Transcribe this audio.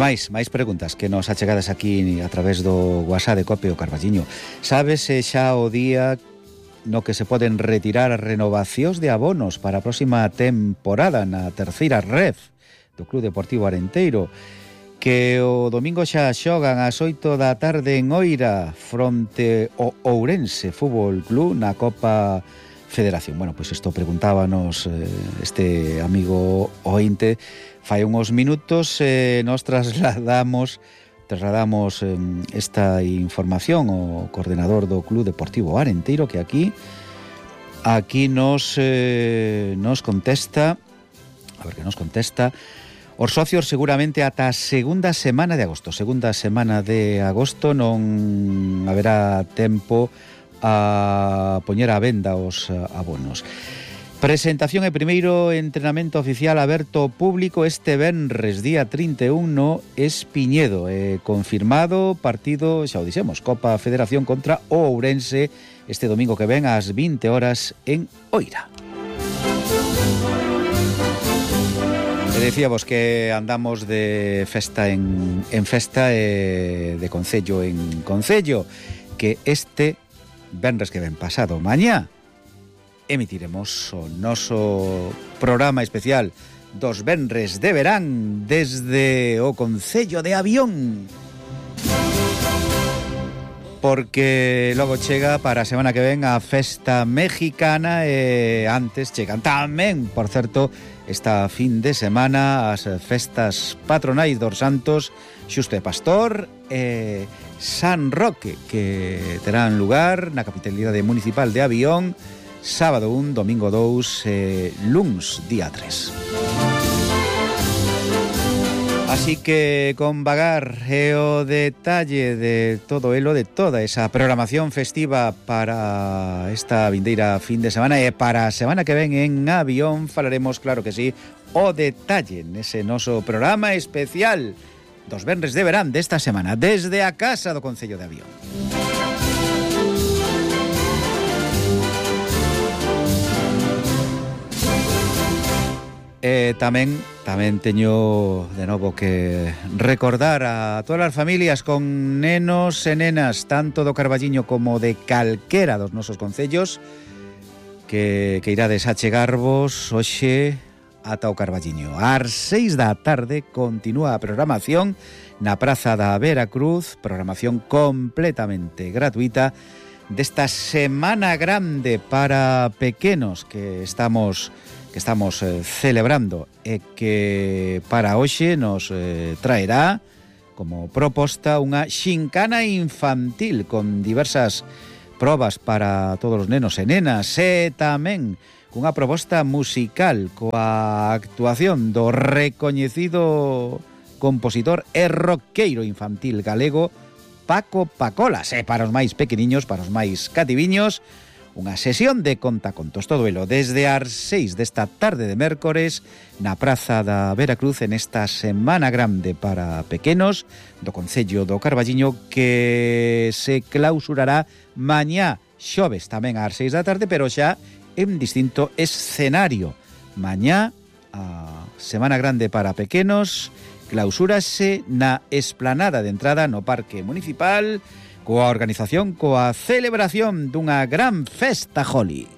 máis preguntas que nos achegadas aquí a través do WhatsApp de Cope o Carballiño. Sabes xa o día no que se poden retirar as renovacións de abonos para a próxima temporada na terceira ref do Club Deportivo Arenteiro, que o domingo xa xogan ás 8 da tarde en Oira fronte ao Ourense Fútbol Club na Copa Federación. Bueno, pois isto preguntábanos este amigo ointe fai uns minutos. Nos trasladamos esta información ao coordenador do Club Deportivo Arenteiro, que aquí nos contesta, a ver que nos contesta. Os socios seguramente ata a segunda semana de agosto non haberá tempo a poñer a venda os abonos. Presentación e primeiro entrenamento oficial aberto ao público este venres día 31 no Espiñedo. Confirmado partido, xa o dixemos, Copa Federación contra o Ourense este domingo que ven ás 20 horas en Oira. Decíamos que andamos de festa en festa, de concello en concello, que este venres que ven pasado mañá emitiremos o noso programa especial dos venres de verán desde o concello de Avión, porque logo chega para a semana que ven a festa mexicana e antes chegan tamén, por certo, esta fin de semana as festas patronais dos santos Xusto e Pastor e San Roque, que terán lugar na capitalidade municipal de Avión sábado 1, domingo 2 e luns día 3. Así que con vagar e o detalle de todo elo, de toda esa programación festiva para esta vindeira fin de semana e para a semana que ven en Avión, falaremos, claro que sí, o detalle nese noso programa especial dos venres de verán desta semana desde a casa do Concello de Avión. Tamén teño de novo que recordar a todas as familias con nenos e nenas tanto do Carballiño como de calquera dos nosos concellos que irades a chegarvos hoxe ata o Carballiño. Ás 6 da tarde continúa a programación na Praza da Veracruz, programación completamente gratuita desta Semana Grande para pequenos que estamos celebrando e que para hoxe nos traerá como proposta unha xincana infantil con diversas probas para todos os nenos e nenas e tamén cunha proposta musical coa actuación do recoñecido compositor e roqueiro infantil galego Paco Pacolas, e para os máis pequeniños, para os máis cativiños, unha sesión de contacontos, todo elo desde as 6 desta tarde de mércores na Praza da Veracruz en esta Semana Grande para pequenos do Concello do Carballiño, que se clausurará mañá xoves tamén ás 6 da tarde, pero xa en distinto escenario. Mañá a Semana Grande para pequenos clausúrase na esplanada de entrada no Parque Municipal coa organización, coa celebración dunha gran festa Holi.